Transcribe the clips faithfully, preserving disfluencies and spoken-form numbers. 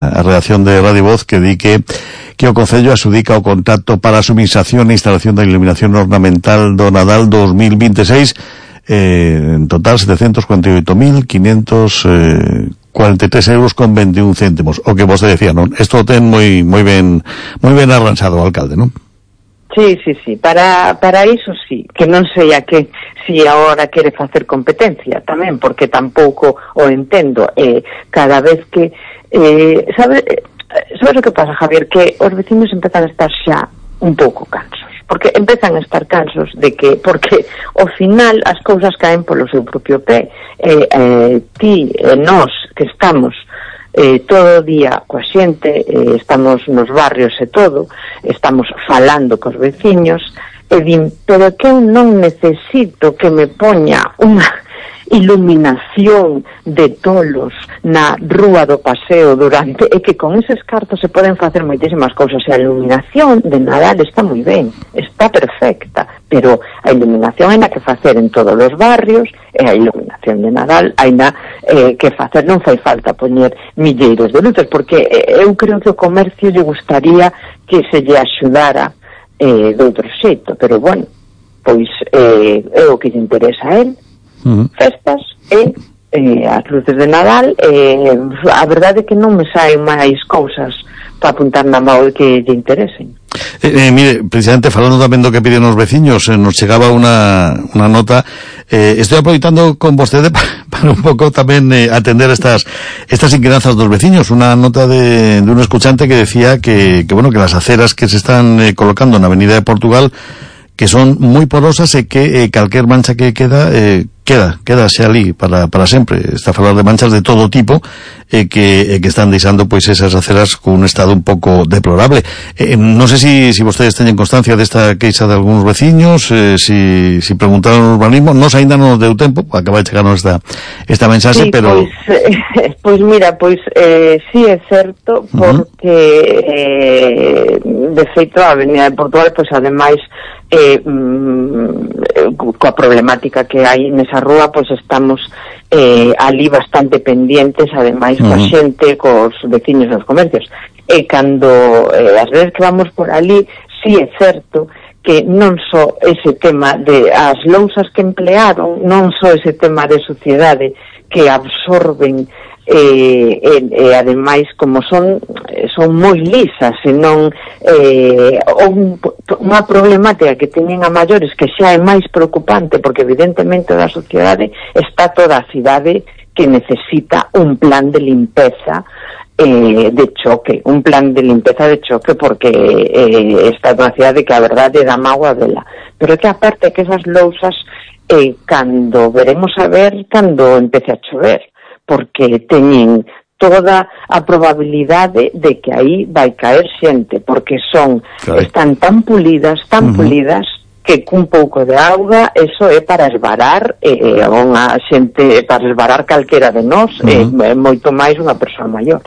A redacción de Radio Voz que di que que o Concello asudica o contrato para a subministración e instalación da iluminación ornamental do Nadal dos mil veintiséis, eh, en total setecentos cuarenta y oito mil quinientos cuarenta y tres euros con veintiún céntimos. O que vos decía, non? Isto ten moi moi ben moi ben arranxado o alcalde, non? Sí, sí, sí, para para iso sí, que non sei a que si agora quere facer competencia tamén, porque tampouco o entendo, eh, cada vez que eh, sabe, sabes o que pasa, Javier, que os vecinos empezan a estar xa un pouco cansos, porque empezan a estar cansos de que, porque ao final as cousas caen polo seu propio pé, eh, eh, ti e eh, nós que estamos Eh, todo o día coa xente, eh, estamos nos barrios e todo, estamos falando cos veciños, e din, pero que eu non necesito que me poña unha iluminación de tolos na rúa do paseo durante, e que con eses cartos se poden facer moitísimas cousas, e a iluminación de Nadal está moi ben, está perfecta, pero a iluminación hai na que facer en todos os barrios, e a iluminación de Nadal hai na eh, que facer, non fai falta poñer milleiros de luces, porque eh, eu creo que o comercio lle gustaría que se lle axudara eh, de outro xeito, pero bueno, pois eh, é o que lle interesa a él. Uh-huh. Festas e eh, as luces de Nadal, eh, a verdade é que non me saen máis cousas para apuntar na mão que lle interesen. Eh, eh, mire, precisamente falando tamén do que piden os veciños, eh, nos chegaba unha, unha nota, eh, estoy aproveitando con vostede para, para un pouco tamén eh, atender estas estas inquedanzas dos veciños, unha nota de, de un escuchante que decía que, que bueno, que las aceras que se están eh, colocando na Avenida de Portugal que son moi porosas e que eh, calquer mancha que queda eh, queda, queda xa ali para, para sempre. Está a falar de manchas de todo tipo e eh, que, eh, que están deixando pois esas aceras con un estado un pouco deplorable. Eh, non sei si, si vostedes teñen constancia desta queixa de algúns veciños, eh, si, si preguntaron o urbanismo, nos ainda non nos deu tempo, acaba de chegarnos esta, esta mensaxe, sí, pero... Pois, eh, pois mira, pois eh, sí é certo, porque uh-huh. eh, de feito a Avenida de Portugal, pois ademais Eh, mm, coa problemática que hai nesa rúa, pois estamos eh, ali bastante pendientes, ademais uh-huh. coa xente, cos veciños dos comercios, e cando eh, as veces que vamos por ali, sí é certo que non só ese tema de as lousas que emplearon, non só ese tema de suciedade que absorben e, e, e ademais como son son moi lisas e non eh, un, unha problemática que teñen a maiores que xa é máis preocupante, porque evidentemente da sociedade está toda a cidade que necesita un plan de limpeza eh, de choque, un plan de limpeza de choque, porque eh, está unha cidade que a verdade dá mágoa vela, pero que aparte que esas lousas eh, cando veremos a ver cando empece a chover, porque teñen toda a probabilidade de que aí vai caer xente, porque son, claro, están tan pulidas, tan uh-huh. pulidas, que cun pouco de auga, eso é para esvarar eh, unha xente, para esvarar calquera de nós, uh-huh. eh, moito máis unha persoa maior.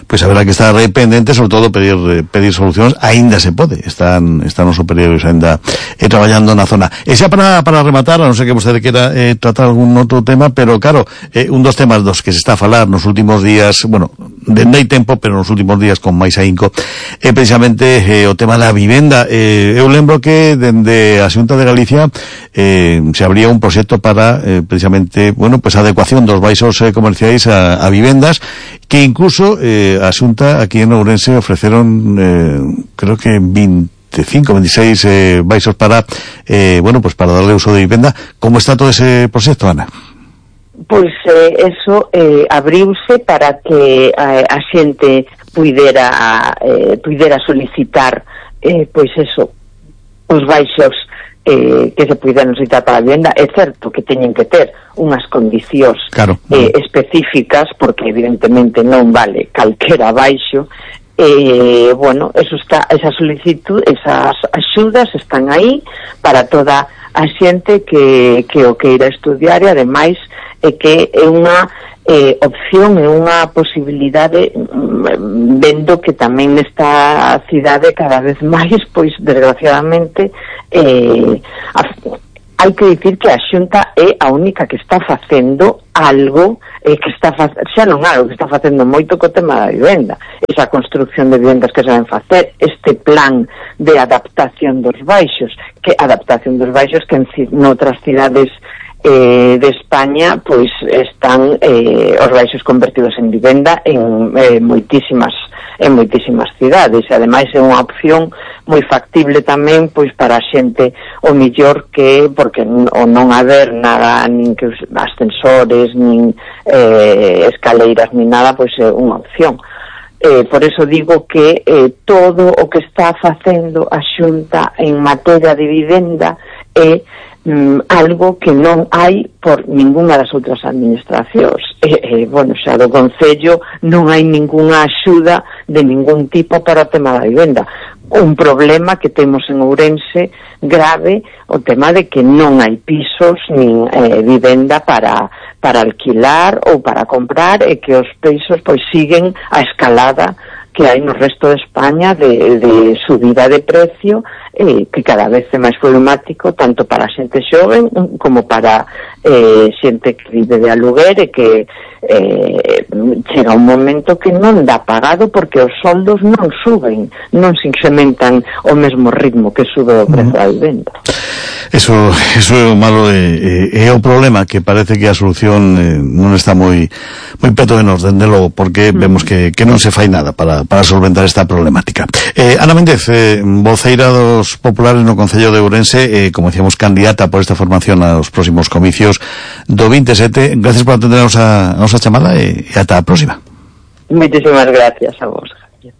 Pois haberá que estar pendente, sobre todo pedir pedir solucións, aínda se pode, están están os superiores aínda eh, traballando na zona. E xa para, para rematar, a non ser que vostede quera eh, tratar algún outro tema, pero claro, eh, un dos temas dos que se está a falar nos últimos días, bueno, dende hai tempo, pero nos últimos días con máis ahínco, é precisamente eh, o tema da vivenda. Eh, eu lembro que dende a Xunta de Galicia eh, se abría un proxecto para eh, precisamente, bueno, pues adecuación dos baixos eh, comerciais a, a vivendas, que incluso eh, a Xunta aquí en Ourense ofreceron eh, creo que veinticinco, veintiséis eh, baixos para eh, bueno, pues para darle uso de vivenda. Como está todo ese proxecto, Ana? Pois eh, eso eh, abriuse para que eh, a xente puidera eh, puidera solicitar eh, pois eso, os baixos eh, que se puideran solicitar para a vivenda. É certo que teñen que ter unhas condicións, claro, eh, específicas, porque evidentemente non vale calquera baixo. Eh, bueno, eso está, esa solicitud, esas axudas están aí para toda a xente que, que o queira estudiar, e ademais é que é unha eh, opción, é unha posibilidade, vendo que tamén nesta cidade cada vez máis, pois desgraciadamente eh, a, hai que dicir que a Xunta é a única que está facendo algo, eh, que está fa- xa non algo, que está facendo moito co tema da vivenda, esa construcción de vivendas que se van facer, este plan de adaptación dos baixos, que adaptación dos baixos que en noutras cidades eh, de España pois están eh, os baixos convertidos en vivenda en eh, moitísimas en moitísimas cidades, e ademais é unha opción moi factible tamén pois para a xente o millor que, porque o non haber nada, nin que os ascensores nin eh, escaleiras nin nada, pois é unha opción. Eh, por eso digo que eh, todo o que está facendo a Xunta en materia de vivenda é mm, algo que non hai por ninguna das outras administracións. Eh, eh, bueno, xa do Concello non hai ningunha axuda de ningún tipo para o tema da vivenda. Un problema que temos en Ourense grave, o tema de que non hai pisos nin eh, vivenda para para alquilar ou para comprar, e que os pisos pois siguen a escalada que hai no resto de España de, de subida de precio, eh, que cada vez é máis problemático tanto para a xente xoven como para eh, xente que vive de aluguer, e que eh, chega un momento que non dá pagado porque os soldos non suben, non se incrementan ao mesmo ritmo que sube o prezo da vivenda. Eso, eso é o malo, e, e, é o problema, que parece que a solución eh, non está moi moi peto de nos, dende logo, porque mm. vemos que, que non se fai nada para, para solventar esta problemática. Eh, Ana Méndez, eh, voceira dos populares no Concello de Ourense, eh, como decíamos, candidata por esta formación aos próximos comicios do veintisiete, gracias por atender a nosa, a nosa chamada, e, e ata a próxima. Moitísimas gracias a vos, Javier.